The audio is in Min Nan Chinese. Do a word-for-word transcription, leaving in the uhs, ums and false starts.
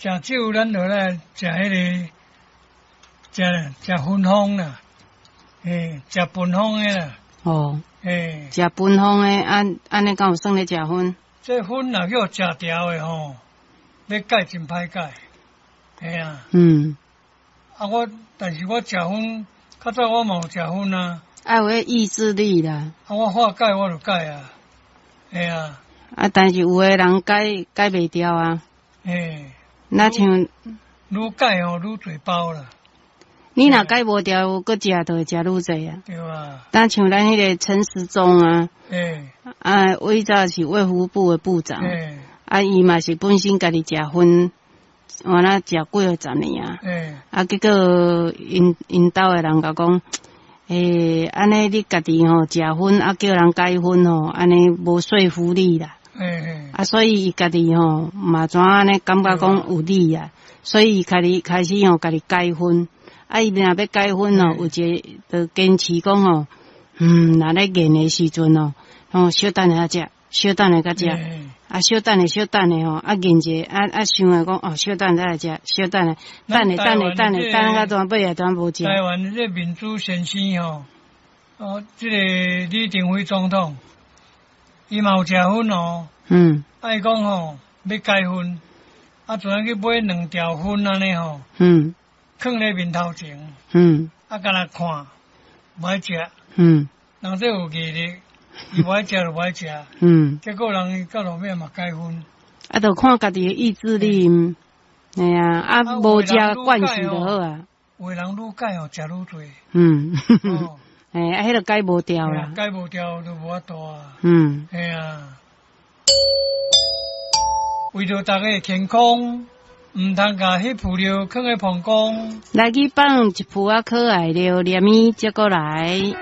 食酒，咱就來食彼个，食食芬芳啦，嘿，食芬芳的啦。哦。嘿，食芬芳的，按按呢敢有算咧食薰？這薰若叫食著的吼，欲戒真歹戒，嘿啊。嗯。啊，我但是我食薰，較早我嘛有食薰啊。愛有彼意志力啦。啊，我話戒我就戒啊，嘿啊。啊，但是有的人戒戒袂掉啊。嘿。若像愈戒吼愈濟包啦。你若戒無掉，閣食就會食愈濟啊。對啊。但像咱彼个陳時中啊，欸啊，以早是衛福部的部長，欸啊，伊嘛是本身家己食薰，原來食幾仔十年啊，欸啊，結果𪜶𪜶兜的人共講，欸，按呢你家己吼食薰，啊叫人戒薰吼，按呢無說服力啦。欸欸啊，所以伊家己吼嘛怎按呢感覺講有理啊，所以伊開始開始吼家己戒薰。啊，伊若欲戒薰吼，有一个就堅持講吼，嗯，若咧練的時陣吼，吼小等下食，小等下才食，啊小等下小等下吼，啊練者啊啊想下講哦，小等下來食，小等下，等下等下等下等到段尾啊段無食。台灣這民主先生吼，哦，這個李登輝總統，伊嘛有食薰哦，嗯，啊伊講吼欲戒薰，啊就按去買兩條薰按呢吼，嗯。囥咧面頭前，嗯，啊，干焦看，無愛食，嗯，人這有毅力，伊無愛食就無愛食，嗯，結果人到落尾嘛戒薰。啊，就看家己的意志力，嘿啊，啊，無食慣勢就好啊。有的人愈戒哦，食愈濟。嗯，嘿，啊，彼个戒無掉啦。戒無掉就無法度啊。嗯。嘿啊。為著大家的健康，毋通共彼浮尿囥佇膀胱。來去放一浮仔可愛尿，連伊接過來。